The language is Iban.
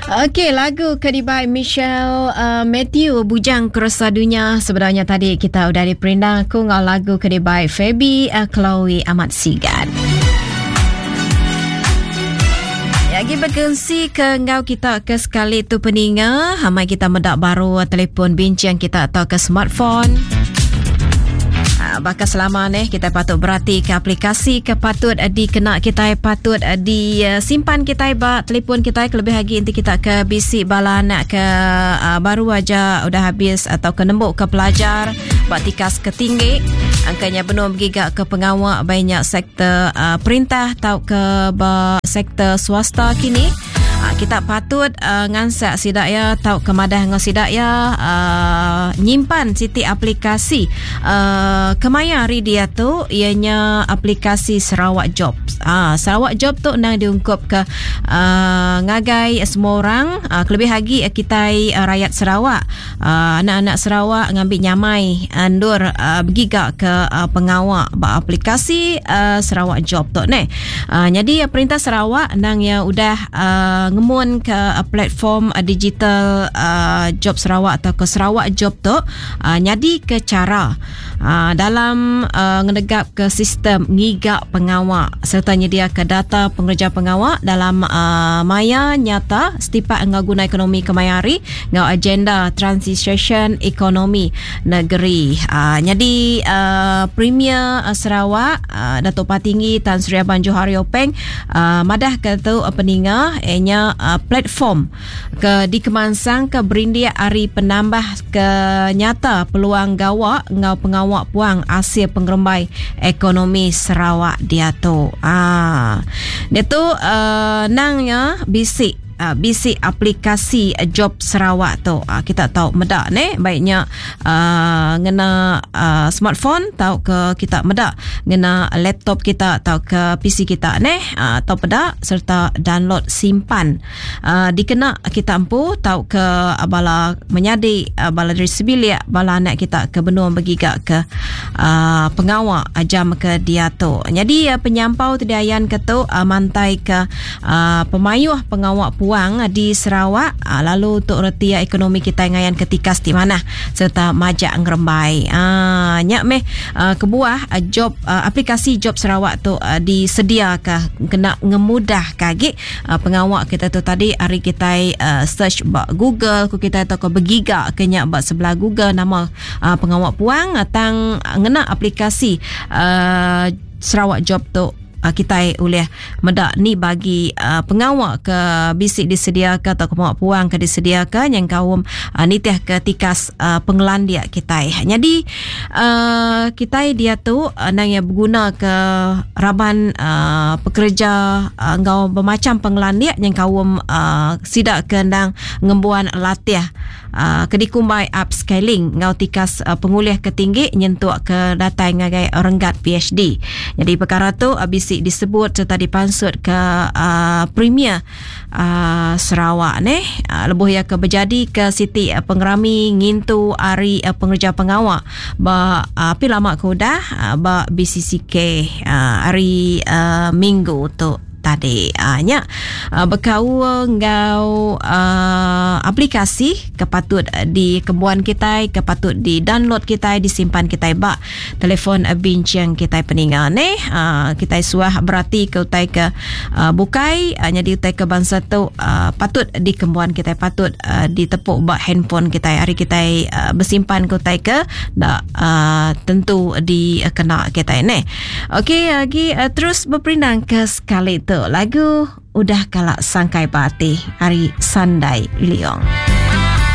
Okey, lagu ke dibai Michelle uh, Matthew Bujang Keresa Dunya. Sebenarnya tadi kita udah diperindang aku ngau lagu ke dibai Feby uh, Chloe Amat Sigan. Lagi berkongsi ke ngau kita ke sekali tu peninga, hamai kita medak baru telefon bincang kita atau ke smartphone. Ah, baka selama ni kita patut berhati ke aplikasi ke patut dikena kita patut disimpan kita ba telefon kita kelebih lagi enti kita ke bisi bala anak ke uh, baru aja udah habis atau ke nembuk ke pelajar ba tikas ke tinggi angkanya benung begiga ke pengawa banyak sektor uh, perintah atau ke ba sektor swasta kini uh, kita patut uh, ngansak sida ya tau ke madah ngau sida ya uh, nyimpan siti aplikasi uh, kemaya hari dia tu ianya aplikasi Sarawak Jobs. Uh, Sarawak Job tu nang diungkup ke uh, ngagai semua orang uh, kelebih lagi kita uh, rakyat Sarawak uh, anak-anak Sarawak ngambil nyamai endur uh, begiga ke uh, pengawa ba aplikasi uh, Sarawak Job tu ne. Uh, jadi uh, perintah Sarawak nang ya udah uh, ngemun ke uh, platform uh, digital uh, Job Sarawak atau ke Sarawak Job tu uh, nyadi ke cara uh, dalam uh, ngenegap ke sistem ngiga pengawa serta nyedia ke data pengereja pengawa dalam uh, maya nyata setipak enggau guna ekonomi kemaya hari enggau agenda transisyen ekonomi negeri. Uh, jadi uh, Premier Sarawak uh, Datuk Patinggi Tan Sri Abang Johari Openg uh, madah ke tu uh, peninga ianya uh, platform ke dikemansang ke berindik ari penambah ke nyata peluang gawa enggau pengawa puang asil pengerembai ekonomi Sarawak diatu. Ah. Diatu uh, nangnya bisi uh, bisi aplikasi Job Sarawak tu. Uh, kita tahu meda ne baiknya uh, ngena uh, smartphone tau ke kita meda ngena laptop kita atau ke PC kita ne uh, atau peda serta download simpan uh, dikena kita empu tau ke bala menyadi uh, bala dari sebilik bala anak kita ke benua begiga ke uh, pengawa jam ke dia tu. Jadi uh, penyampau tu diayan ke tu uh, mantai ke uh, pemayuh pengawa puang di Sarawak uh, lalu untuk retia ekonomi kita ngayan ke tikas di mana serta majak ngerembai. Uh, nyak meh uh, kebuah uh, job uh, aplikasi Job Sarawak tu uh, disedia ke kena ngemudah kagi uh, pengawa kita tu tadi hari kita uh, search ba Google ku kita atau ke begiga ke nyak ba sebelah Google nama uh, pengawa puang tang ngena aplikasi uh, Sarawak Job tu uh, kitai ulih meda ni bagi uh, pengawa ke bisi disediaka atau pengawa puang ke disediaka yang kaum uh, nitih ke tikas uh, pengelandia kitai. Jadi uh, kitai dia tu uh, nang yang berguna ke raban uh, pekerja uh, enggau bermacam pengelandia yang kaum uh, sidak ke ndang ngembuan latih uh, ke dikumbai upscaling ngau tikas uh, pengulih ke tinggi nyentuk ke datai ngagai renggat PhD. Jadi perkara tu uh, bisi disebut serta dipansut ke uh, Premier uh, Sarawak neh. Uh, lebuh ia ke berjadi ke siti uh, pengerami ngintu hari uh, pengerja pengawa ba uh, api lama ke udah uh, ba BCCK uh, hari uh, Minggu tu tadi. Uh, nya uh, berkaul enggau uh, aplikasi ke patut di kembuan kita, ke patut di download kita, disimpan kita ba telefon bincang kita peninga ne. Uh, kita suah berarti ke utai ke uh, bukai, uh, jadi utai ke bangsa tu uh, patut di kembuan kita, patut uh, ditepuk ba handphone kita. Hari kita uh, bersimpan ke utai ke dak uh, tentu dikena kita ne. Okey, lagi uh, terus berperindang ke sekali tu lagu udah kalak sangkai bati hari Sandai Liong.